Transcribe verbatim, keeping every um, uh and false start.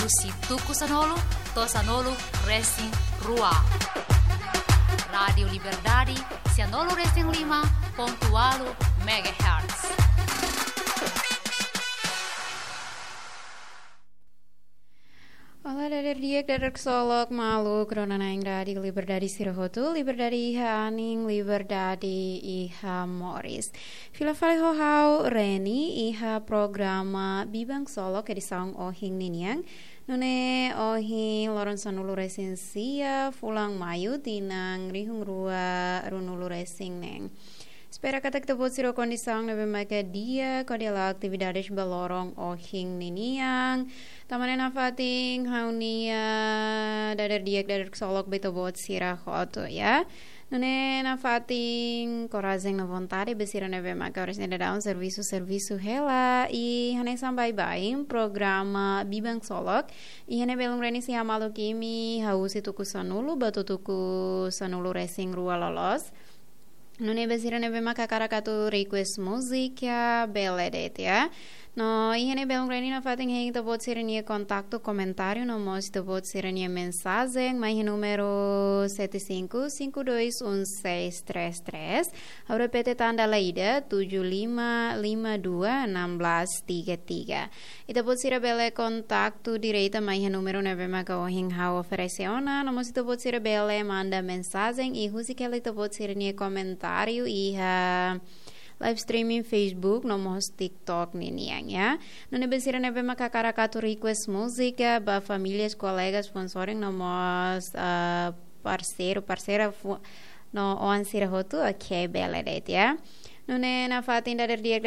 Husi tuku sanulu to'o sanulu resin rua. Rádiu Liberdade, sanulu resin lima pontu ualu megahertz. Olá, dader di'ak, dader ksolok, maluk rona-na'in Rádiu Liberdade sira hotu, liberdade iha anin, liberdade iha moris. Fila fali ho ha'u Reni iha programa Biban Ksolok edisaun ohin ninian. Nune'e ohin loron sanulu resin sia, fulan Maiu, tinan rihun rua ruanulu resin neen. Espera katak ita-boot sira ho kondisaun ne'ebé maka di'ak hodi halo atividades ba loron ohin ninian. Tanba ne'e nafatin ha'u-nia dader di'ak, dader ksolok ba ita-boot sira hotu, ya. Nune'e nafatin korajen no vontade ba sira ne'ebé maka oras ne'e daudaun servisu, servisu hela, i hanesan baibain programa Biban Ksolok iha ne'e belun Reni sei hamaluk imi husi tuku sanulu ba tuku sanulu resin rua loloos. Nune'e ba sira ne'ebé maka hakarak atu request múzika, bele de'it, ya. No iha ne'e belun Reni nafatin hein ita-boot sira-nia kontaktu, komentáriu no mós ita-boot sira-nia mensajen mai iha númeru sete cinco cinco dois um seis três três. Ha'u repete tan dala ida, tujuh lima lima dua enam belas tiga tiga. Ita-boot sira bele kontaktu direta mai iha númeru ne'ebé maka ohin ha'u oferese ona, no mós ita-boot sira bele manda mensajen i husik hela ita-boot sira-nia komentáriu iha live streaming Facebook no mós TikTok ninian, ya. Nune'e ba sira ne'ebé maka hakarak atu request múzika ba famílias, kolegas, foun-sorin no mós, ah, parseiru, parseira fu-, no oan sira hotu, oke, bele de'it, ya. Nune'e nafatin dader di'ak,